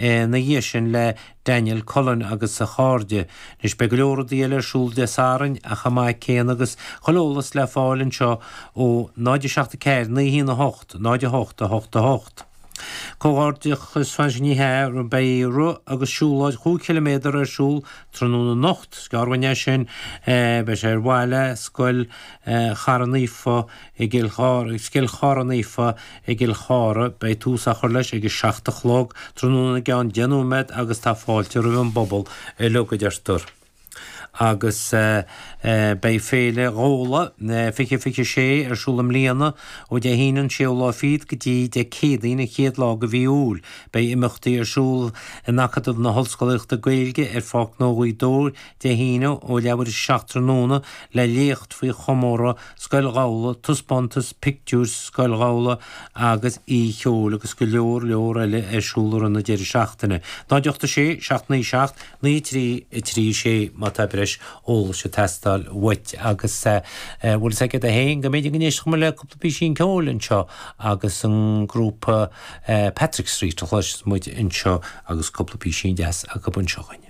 Ina dhiaidh sin le Daniel Cullen agus a chairde. Anois beidh go leor rudaí eile ar siúl Dé Sathairn chomh maith céanna agus chuile eolas le fáil anseo ó 0 7 4 9 1 8 0 8 8 8. Comhghairdeachas freisin ní hea, beidh rith agus siúlóid chúig chiliméadar ar siúl tráthnóna anocht. Is gearr uainn é sin. Beidh sé ar mhaithe le Scoil Chara Naofa i gCill Chartha, Scoil Chara Naofa i gCill Chartha. Beidh tús á chur leis ag a 7 a chlog tráthnóna i gceann 10 nóiméad agus tá fáilte roimh an bpobal uilig, a deirtear. Agus beidh Féile Ghabhla 2026 ar siúl i mbliana ó Dé hAoine an séú lá fichead go dtí Dé Céadaoin an chéad lá de mhí Iúil. Beidh imeachtaí ar siúl in Acadamh na hOllscolaíochta Gaeilge ar Pháirc Ghnó Ghaoth Dobhair Dé hAoine ó leathuair tar éis a 7 tráthnóna le léacht faoi chomóradh Scoil Ghabhla, taispeántas pictiúir Scoil Ghabhla agus oíche cheoil agus go leor leor eile ar siúl i rith na deireadh seachtaine. 0 8 6 7 9 7 9 3 3 6 má tá breis eolais ag teastáil uait agus bhfuil fhios agat féin go mb'fhéidir go n-éistfeadh muid le cúpla písín ceoil anseo agus an grúpa Patrick Street a chloisfeas muid anseo agus cúpla písín deas acu anseo againn.